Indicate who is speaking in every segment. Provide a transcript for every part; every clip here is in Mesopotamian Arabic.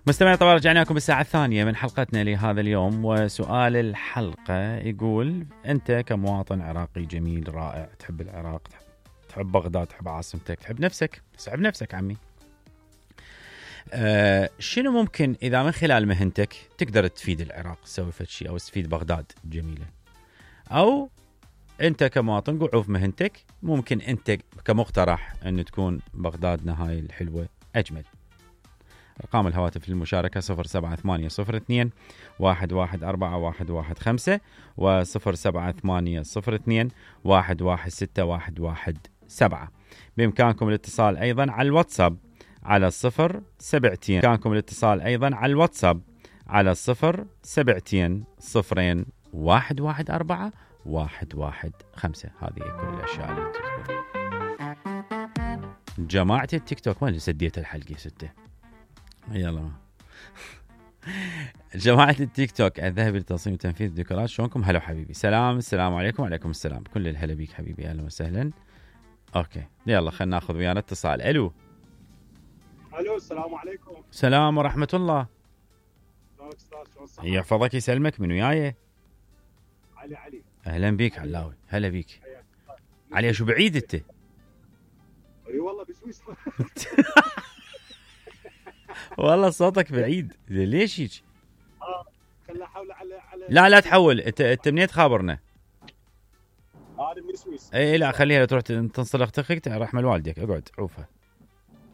Speaker 1: مستمعين، طبعا رجعنا لكم بالساعة الثانية من حلقتنا لهذا اليوم، وسؤال الحلقة يقول: أنت كمواطن عراقي جميل رائع، تحب العراق، تحب بغداد، تحب عاصمتك، تحب نفسك، تحب نفسك عمي، شنو ممكن إذا من خلال مهنتك تقدر تفيد العراق، تسوي فد شيء أو تفيد بغداد جميلة؟ أو أنت كمواطن قعوف مهنتك ممكن أنت كمقترح أن تكون بغدادنا هاي الحلوة أجمل. أرقام الهواتف للمشاركة 07802 114115 و 07802 116117. بإمكانكم الاتصال أيضا على الواتساب على 072 بإمكانكم الاتصال أيضا على الواتساب على 072 0114 115. هذه كل الأشياء اللي تذكر. جماعة التيك توك ما اللي سديت الحلقة ستة. يلا جماعة التيك توك الذهبي لتصميم وتنفيذ الديكورات، شلونكم؟ هلا حبيبي، السلام عليكم. وعليكم السلام، كل الهلا بيك حبيبي، اهلا وسهلا. اوكي يلا خلينا ناخذ ويانا اتصال. الو
Speaker 2: السلام عليكم.
Speaker 1: السلام ورحمة الله. يحفظك يسلمك، من وياي؟
Speaker 2: علي.
Speaker 1: اهلا بيك علاوي، هلا بيك. علي شو بعيد انت؟
Speaker 2: اي والله بسويسرا.
Speaker 1: والله صوتك بعيد، ليش هيك؟
Speaker 2: خلنا احول على
Speaker 1: لا تحول، انت منين تخابرنا؟
Speaker 2: انا من السويس.
Speaker 1: اي لا خليها تروح تنصلخ تخك رحمة والديك، اقعد عوفها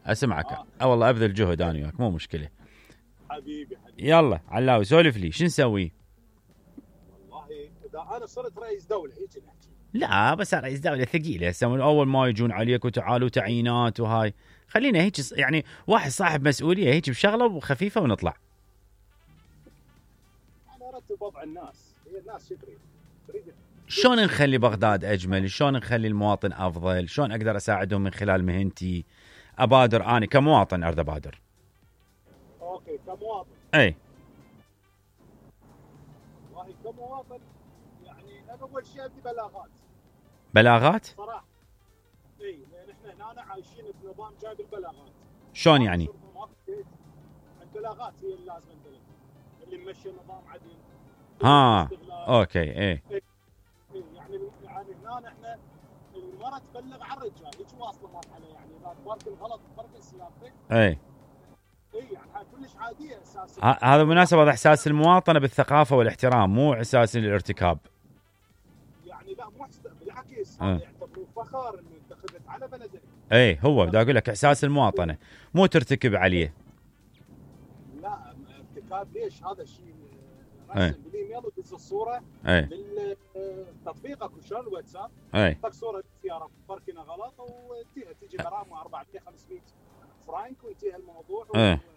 Speaker 1: اسمعك. والله ابذل جهد انا وياك، مو مشكلة
Speaker 2: حبيبي.
Speaker 1: يلا علاوي سولف لي، شو نسوي؟
Speaker 2: والله اذا انا صرت رئيس دولة هيك نحكي.
Speaker 1: لا بس رئيس دولة ثقيلة، يسوون اول ما يجون عليك وتعالوا تعيينات وهاي، خلينا هيك يعني واحد صاحب مسؤولية هيك بشغلة وخفيفة ونطلع.
Speaker 2: انا ارتب وضع الناس، هي الناس شو تريد؟
Speaker 1: شلون نخلي بغداد اجمل؟ شلون نخلي المواطن افضل؟ شلون اقدر اساعدهم من خلال مهنتي؟ ابادر انا كمواطن، اريد ابادر.
Speaker 2: اوكي كمواطن.
Speaker 1: اي
Speaker 2: والله كمواطن يعني انا اول شيء ابدي
Speaker 1: بلاغات
Speaker 2: صراحه. اي لان احنا هنا عايشين بنظام جايب البلاغات.
Speaker 1: شلون يعني؟
Speaker 2: البلاغات هي اللي لازم ندلها، اللي ممشي نظام عدل.
Speaker 1: اوكي. اي
Speaker 2: يعني هنا احنا المرأة تبلغ عن الرجال، هيك واصله مرحله يعني اذا تبارك الغلط تبارك سيارتك.
Speaker 1: اي
Speaker 2: يعني كلش عاديه اساسا.
Speaker 1: هذا مناسبة احساس المواطنة بالثقافة والاحترام، مو احساس الارتكاب.
Speaker 2: يعني لا مو بالعكس، يعتبروا فخر انه انت خذت على بلدك.
Speaker 1: اي هو بدي اقول لك احساس المواطنة، مو ترتكب عليه.
Speaker 2: لا ارتكاب ليش؟ هذا الشيء رسم بالايميل ودز الصوره بالتطبيق اكو شلون الواتساب، تحط صوره سياره باركينه غلط وتجي غرامه 400 500 فرانك وينتهي الموضوع.